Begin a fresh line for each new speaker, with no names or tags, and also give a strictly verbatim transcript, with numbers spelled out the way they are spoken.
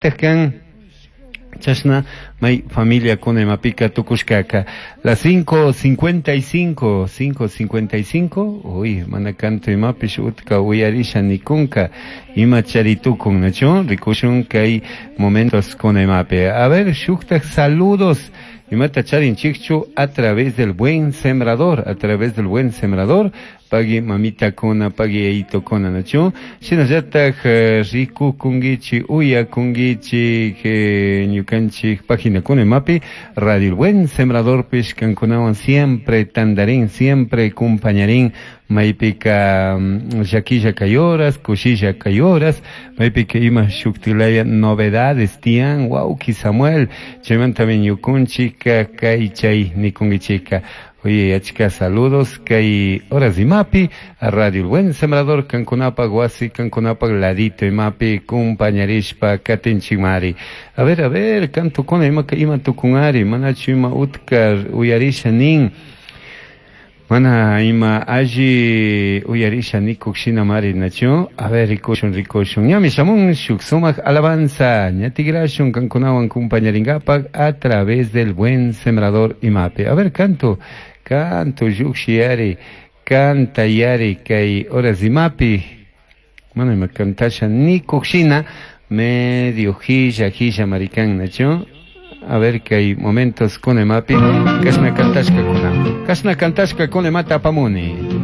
Kan chashna may familia kuna imapika tukushkaka. Las cinco cincuenta y cinco, cinco cincuenta y cinco, uy, mana canto imapish utka uyarisha nikunka, ima charitukun, nachu, rikushun kay momentos kuna imapi. A ver, shuktak saludos, imata charin chikchu a través del buen sembrador, a través del buen sembrador, pagui mamita kuna, pagui yaito kuna, nachu, shinallatak riku kungichi, uya kungichi, ñukanchik página kuna imapi, Radio El Buen Sembrador pish kankunawan siempre tandarín, siempre compañarín, maypika llaquilla kayoras, kushilla kayoras, maypika ima shuktilaya novedades tian, wauki Samuel, chaymanta ñukunchika kay chay nikunkichika. Oye, achka saludos kay horas imapi a Radio El Buen Sembrador kankunapak wasi kankunapak ladito imapi kumpañarishpa katinchikmari. A ver, a ver, kantukuna ima ima tukunari, manachu ima utka uyarisha nin. Mana ima alli uyarisha nikuk shina mari nachu. A ver, rikushun, rikushun. Ñami shamun shuk sumak alabanza. Ñatigrashun kankunawan kumpañaringapak a través del Buen Sembrador imapi. A ver, canto, canto yukshi canta yari kay horas imapi. Mana ima kantasha nikuk shina medio hilla hilla marikan nachu. A ver que hay momentos con emapi, kashna kantashka kuna. Kashna kantashka con emata pamuni.